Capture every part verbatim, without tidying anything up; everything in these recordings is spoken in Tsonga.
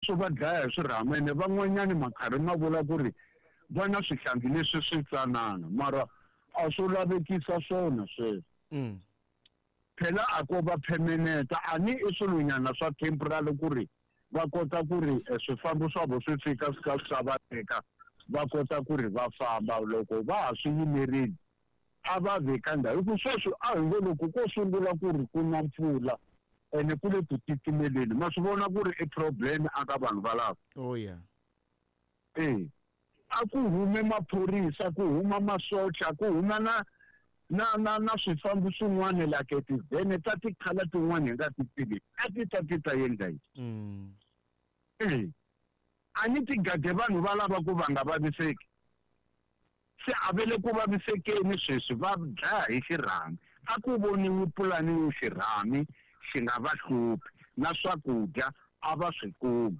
swo va dlaya hi swirhami ene van'wanyani makhari ma vula ku ri va na swihlangi leswi swi tsanana mara a swo lavekisa swona sweswo. Mm. Phela a ko va permanent a ni i swilonyana swa temporary ku ri va kota ku ri swifambo swa vo swi fika swi ka swi ta va teka va kota ku ri va famba loko va ha swi yimerile a va veka ndhawu hi ku sweswi a hi ngo loko ko sungula ku ri ku na mpfula ene ku le ku titimeleni ma swi vona ku ri i problem aka vanhu valava. Oh yeah. Eh a ku hume maphorisa ku huma masocha ku huma na na na na swifambo swin'wana like tivhene ta tikhala tin'wana hi nga ti tivi a ti ta ti ta endla yini. Mm. Eh a ni ti gade vanhu va lava ku va nga vaviseki se a ve le ku vavisekeni sweswi va dlaya hi xirhami a ku voniwi pulani yo xirhami xi nga va hluphi na swakudya a va swi kumi.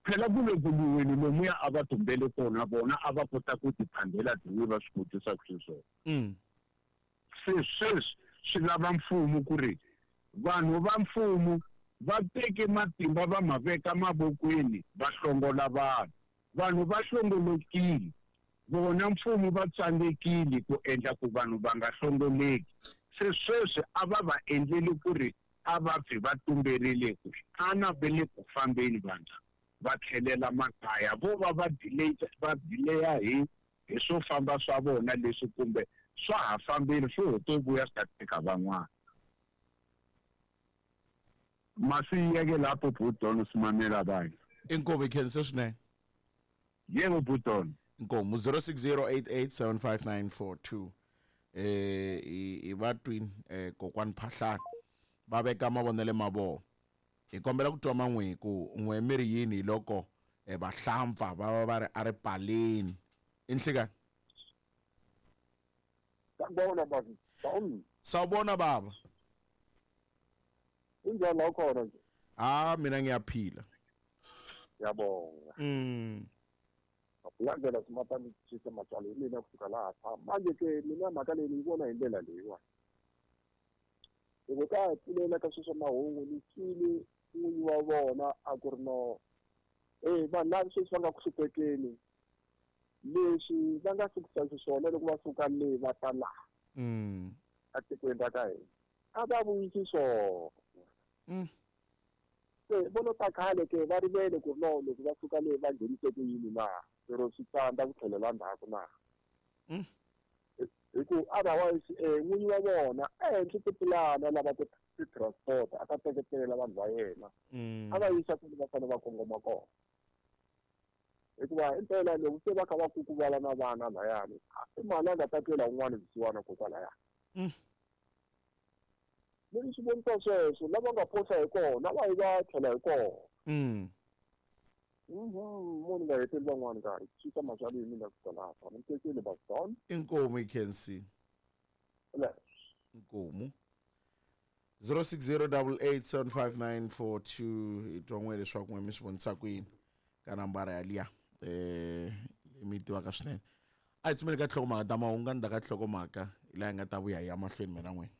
Phela ku le ku lwiweni lomuya a va tumbele kona vona a va kota ku tiphandela tin'we va swi kotisa xiswona. Mm. Se sweswi swi lava mfumo ku ri vanhu va mfumo va teke matimba va ma veka mavokweni va hlongola vanhu. Vanhu va hlongolokile vona mfumo va tsandzekile ku endla ku vanhu va nga hlongoleki. Se sweswi a va va endleli ku ri a va pfi va tumberile ku xana va le ku fambeni vanhu va tlhelela makaya vo va va delay va delaya hi hi swo famba swa vona leswi kumbe swa ha fambile swo ho to vuya swi ta teka van'wana. Masiyeke lapho Bhutoni simamela abanye. Inkomo ikhense swinene. Yebo Bhutoni. Inkomo zero six zero eight eight seven five nine four two eh i va twin eh kokwani Phahlane va veka mavonelo ma vona. Hi kombela ku twa man'we ku n'we mi ri yini loko vahlampfa va va va ri a ri paleni. Inhlekani. Sawubona baba. Sawubona baba. Kunjani la khona nje? Ah mina ngiyaphila. Ngiyabonga. Mm. Akulandela simatani chisa matswalo mina kusuka lapha. Manje ke mina mhaka leyi ni yi vona hi ndlela leyiwani. Loko ka ha pfulela ka sweswo mahungu ni twile n'winyi wa vona a ku ri no eh vanhu lava sweswi va nga ku hluphekeni leswi va nga sukisa xiswona loko va suka le va ta laha mm etikweni ra ka hina a va vuyisi swona. Mm. Se vo lo ta khale ke va rivele ku no loko va suka le va nghenise ku yini na lero swi tsandza ku tlhelela ndzhaku na. Mm. Hi ku otherwise eh n'winyi wa vona a endli tipulani lava ti-transport a ta teketela vanhu va yena a va yisa ku va fanele va kongoma kona. Hikuva impela loko se va kha va kukuvala na vana layani i mali a nga ta twela un'wana vusiwana kokwalaya. Mm. Leswi swi vonisa sweswo lava nga phosa hi kona va yi va tlhela hi kona. Mm. Mhm, munhu nga heteli van'wana nkarhi chisa maswali mina ku lapha ni tekile baston. Inkomo ikhensi. Le. Inkomo zero six zero eight eight seven five nine four two i twa n'we leswaku n'we mi swi vonisa ku yini ka nambara ya liya eh mi tivaka swinene. A hi tsumeli ka nhlokomhaka ta mahungu ndzhaku ka nhlokomhaka hi laha hi nga ta vuya hi ya mahlweni mina n'we.